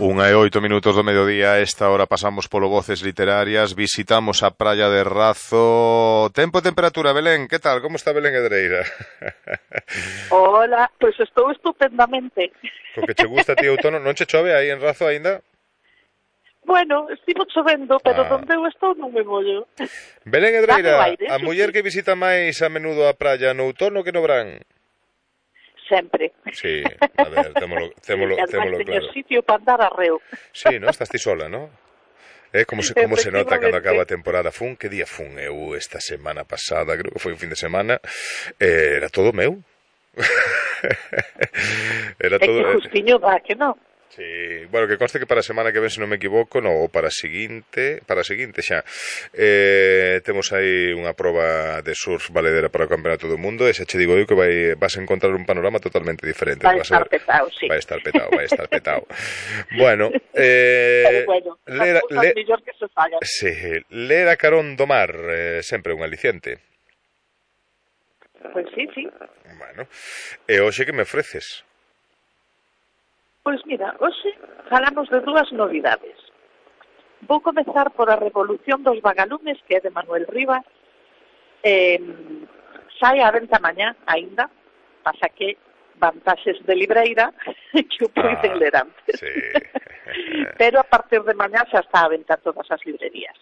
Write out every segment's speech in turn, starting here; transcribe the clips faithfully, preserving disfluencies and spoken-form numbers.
Unha e oito minutos do mediodía. A esta hora pasamos polo Voces Literarias. Visitamos a praia de Razo. Tempo e temperatura, Belén, que tal? Como está Belén Edreira? Hola, pois pues estou estupendamente. Co que che gusta ti outono, non che chove aí en Razo aínda? Bueno, estivo chovendo, pero ah. onde eu estou non me mollo. Belén Edreira, aire, a muller que visita máis a menudo a praia no outono que no verán? Sempre. Sí, a ver, témolo, témolo, témolo claro. Teño sitio para andar arreo. Sí, ¿no? Estás ti sola, ¿no? Eh, como se, como se nota cando acaba a temporada. Fun, que día fun eu esta semana pasada, creo que foi un fin de semana, eh, era todo meu. Era todo... É que justiño dá, que non? Sí, bueno, que conste que para a semana que ven, se non me equivoco, no, ou para a seguinte, para a seguinte xa, eh, temos aí unha proba de surf valedera para o Campeonato do Mundo, e xa che digo eu que vai, vas a encontrar un panorama totalmente diferente. Vai estar petao, sí. Vai estar petao, vai estar petao. Bueno, eh, pero bueno, ler, le, mellor que se fagan. Sí, ler a carón do mar, eh, sempre un aliciente. Pois pues sí, sí. Bueno, e hoxe que me ofreces? Pois mira, hoxe falamos de dúas novidades. Vou comezar por A Revolución dos Vagalumes, que é de Manuel Rivas. Eh, sai á venta mañá, aínda, pasa que vantaxes de libreira que o poden ah, ler antes. Sí. Pero a partir de mañá xa está á venta todas as librerías.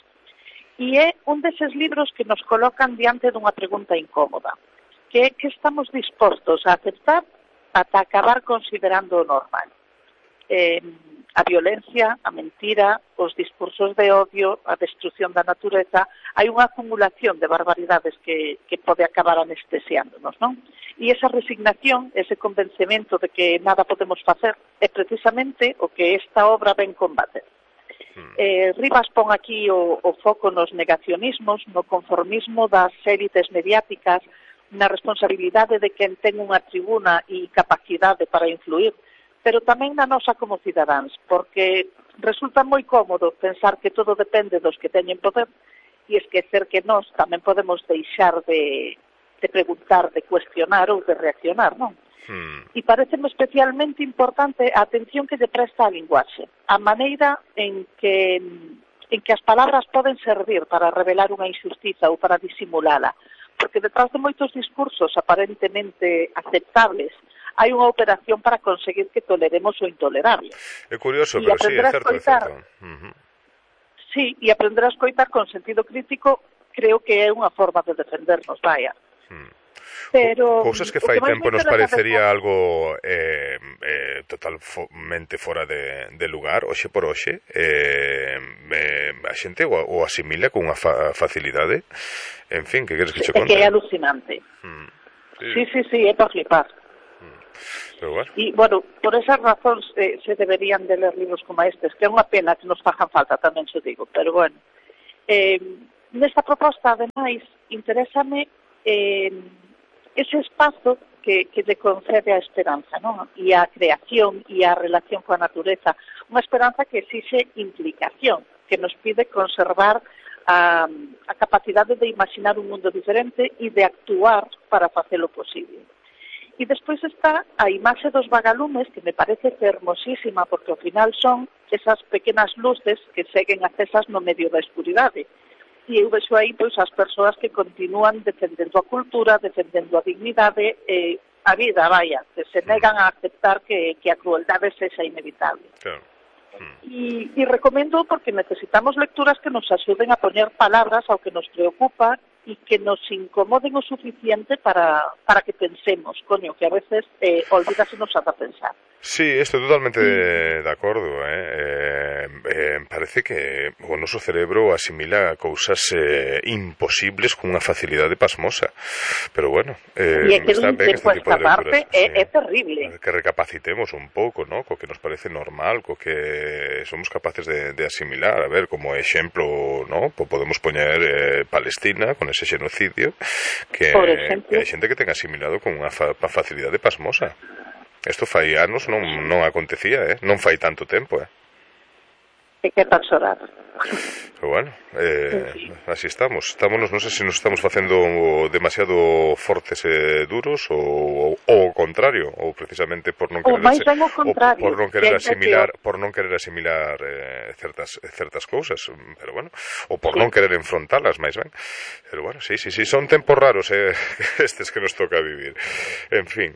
E é un deses libros que nos colocan diante dunha pregunta incómoda, que é que estamos dispostos a aceptar ata acabar considerando o normal. Eh, a violencia, a mentira, os discursos de odio, a destrucción da natureza, hai unha acumulación de barbaridades que, que pode acabar anestesiándonos, non? E esa resignación, ese convencemento de que nada podemos facer, é precisamente o que esta obra ven combater. Eh, Rivas pon aquí o, o foco nos negacionismos, no conformismo das élites mediáticas, na responsabilidade de quen ten unha tribuna e capacidade para influir, pero tamén na nosa como cidadáns, porque resulta moi cómodo pensar que todo depende dos que teñen poder e esquecer que nós tamén podemos deixar de, de preguntar, de cuestionar ou de reaccionar, non? Hmm. E pareceme especialmente importante a atención que lle presta a linguaxe, a maneira en que, en que as palabras poden servir para revelar unha injustiza ou para disimulala, porque detrás de moitos discursos aparentemente aceptables hai unha operación para conseguir que toleremos o intolerable. É curioso, pero sí, é certo, é certo. Uh-huh. Sí, e aprender a escoitar con sentido crítico creo que é unha forma de defendernos, vaya. Hmm. Pero cousas que fai que tempo nos parecería de... algo eh, eh, totalmente fora de, de lugar, hoxe por hoxe, eh, eh, a xente o, o asimila con unha fa facilidade. En fin, que queres que che conte? É que é alucinante. Hmm. Sí. sí, sí, sí, é para flipar. Pero bueno. E, bueno, por esas razóns eh, se deberían de ler libros como estes, que é unha pena que nos fajan falta, tamén se digo, pero bueno. Eh, nesta proposta, ademais, interésame eh, ese espazo que, que lle concede a esperanza, non? E a creación e a relación coa natureza. Unha esperanza que exixe implicación, que nos pide conservar a, a capacidade de imaginar un mundo diferente e de actuar para facelo posible. E despois está a imaxe dos vagalumes, que me parece fermosísima, porque ao final son esas pequenas luces que seguen acesas no medio da escuridade. E eu vexo aí pois, as persoas que continúan defendendo a cultura, defendendo a dignidade, eh, a vida, vaya, que se negan a aceptar que, que a crueldade sexa inevitable. Claro. E, e recomendo porque necesitamos lecturas que nos axuden a poñer palabras ao que nos preocupa e que nos incomoden o suficiente para, para que pensemos, coño, que a veces eh, olvídase nos ata pensar. Sí, estou totalmente de, de acordo, eh? Eh, eh, parece que o noso cerebro asimila cousas eh, imposibles con unha facilidade pasmosa, pero bueno, eh, e é que está ben este tipo de lecturas. É, sí, é terrible. Que recapacitemos un pouco, ¿no? Co que nos parece normal, co que somos capaces de, de asimilar. A ver, como exemplo, ¿no? Podemos poñer eh, Palestina con ese xenocidio que, que hai xente que ten asimilado con unha fa facilidade pasmosa. Isto fai anos non, non acontecía, eh? Non fai tanto tempo, eh? E que tal xorar. Pero bueno, eh, así estamos. Estámonos, non sei se nos estamos facendo demasiado fortes e duros ou o contrario, ou precisamente por non querer ase, o por non querer asimilar, por non querer asimilar eh, certas certas cousas, pero bueno, ou por sí. non querer enfrontalas, máis ben. Pero bueno, sí, sí, sí, son tempos raros eh, estes que nos toca vivir. En fin.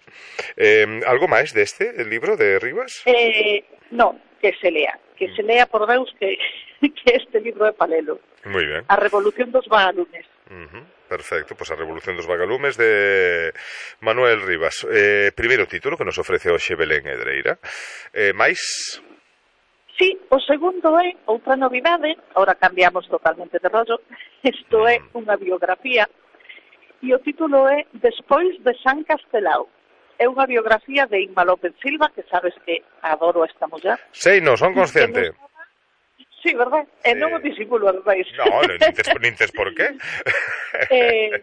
Eh, algo máis deste libro de Rivas? Eh, no, que se lea. Que se lea, por Deus, que, que este libro é palelo. Moi ben. A Revolución dos Vagalumes. Uh-huh. Perfecto, pois pues a Revolución dos Vagalumes de Manuel Rivas. Eh, primeiro título que nos ofrece hoxe Belén Hedreira. Eh, máis? Sí, o segundo é outra novidade, ahora cambiamos totalmente de rollo. Isto uh-huh. é unha biografía e o título é Despois de San Castelao. É unha biografía de Inma López Silva, que sabes que adoro a esta muller. Sei, non son consciente. Nos... Sí, verdad? Sí. E non o disimulo, ademais. No, nin tes, nin tes por qué. eh,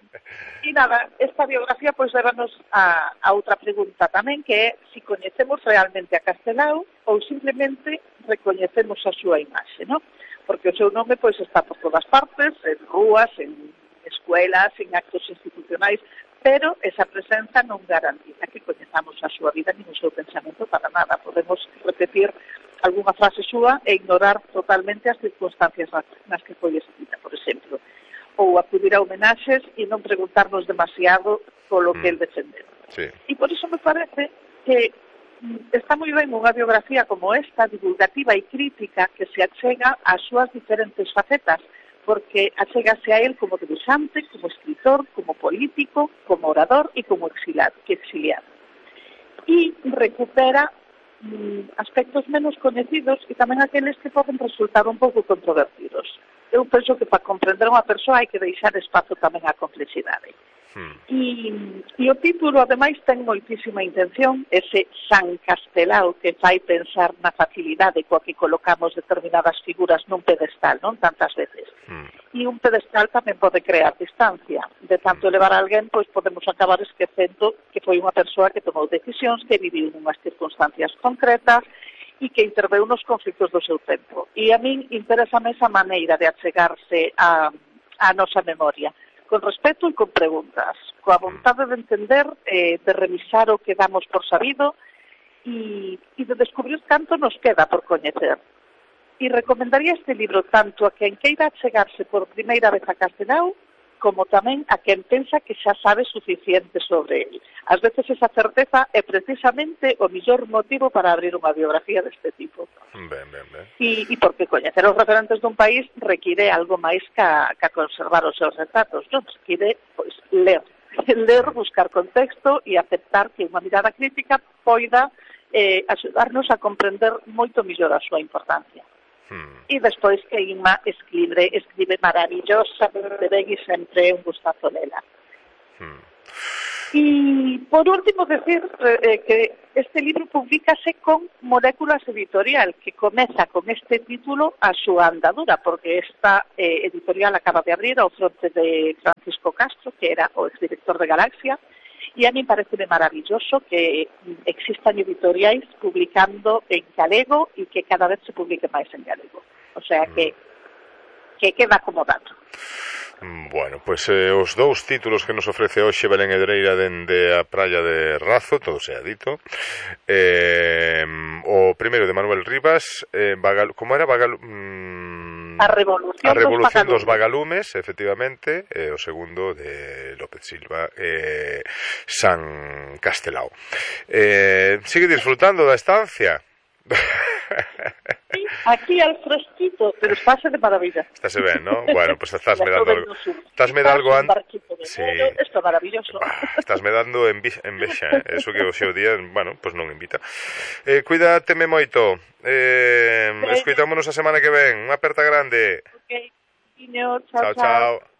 e nada, esta biografía pois levanos a, a outra pregunta tamén, que é se si coñecemos realmente a Castelao ou simplemente recoñecemos a súa imaxe, non? Porque o seu nome pois está por todas partes, en rúas, en escuelas, en actos institucionais, pero esa presenza non garantiza que coñezamos a súa vida nin o seu pensamento para nada. Podemos repetir algunha frase súa e ignorar totalmente as circunstancias nas que foi escrita, por exemplo. Ou acudir a homenaxes e non preguntarnos demasiado polo que el defendeu. Sí. E por iso me parece que está moi ben unha biografía como esta, divulgativa e crítica, que se achega ás súas diferentes facetas, porque achégase a él como dibujante, como escritor, como político, como orador e como exiliado. exiliado. E recupera mm, aspectos menos coñecidos e tamén aqueles que poden resultar un pouco controvertidos. Eu penso que para comprender unha persoa hai que deixar espazo tamén á complexidade. Hmm. E, e o título, ademais, ten moitísima intención, ese San Castelao, que fai pensar na facilidade coa que colocamos determinadas figuras nun pedestal, non tantas veces. Hmm. E un pedestal tamén pode crear distancia. De tanto elevar a alguén, pois podemos acabar esquecendo que foi unha persoa que tomou decisións, que viviu unhas circunstancias concretas e que interveu nos conflictos do seu tempo. E a min interésame esa maneira de achegarse a, a nosa memoria, con respeto e con preguntas, coa vontade de entender, eh, de revisar o que damos por sabido e, e de descubrir canto nos queda por coñecer. E recomendaría este libro tanto a quen queira chegarse por primeira vez a Castelao, como tamén a quen pensa que xa sabe suficiente sobre ele. Ás veces esa certeza é precisamente o mellor motivo para abrir unha biografía deste tipo. Ben, ben, ben. E, e porque coñecer os referentes dun país require algo máis ca, ca conservar os seus retratos. Non, require, pois, ler. Ler, buscar contexto e aceptar que unha mirada crítica poida eh, axudarnos a comprender moito mellor a súa importancia. Hmm. E despois que Inma escribe, escribe maravillosamente ben e sempre é un gustazo lela. Hmm. E, por último, decir eh, que este libro publicase con Moléculas Editorial, que comeza con este título a súa andadura, porque esta eh, editorial acaba de abrir ao fronte de Francisco Castro, que era o exdirector de Galaxia, e a mí parece maravilloso que existan editoriais publicando en galego e que cada vez se publique máis en galego. O sea que, que queda acomodado. Bueno, pois pues, eh, os dous títulos que nos ofrece hoxe Belén Hedreira dende a praia de Razo, todo sea dito. Eh, o primeiro de Manuel Rivas, eh, Vagal, como era? Vagal, mm, a Revolución, a Revolución dos, dos Vagalumes, efectivamente, e o segundo de López Silva, eh, San Castelao. Eh, sigue disfrutando da estancia? Sí, aquí al fresquito, pero estáse de maravilla. Estáse ben, ¿no? Bueno, pues estás me dando algo. Estás me dando algo antes. Sí. Esto é maravilloso. Estás me dando envexa, eh? Eso que o seu día, bueno, pues non invita. Eh, cuídateme moito. Eh, sí. Escoitámonos a semana que ven. Unha aperta grande. Okay. Chao, chao. Chao, chao.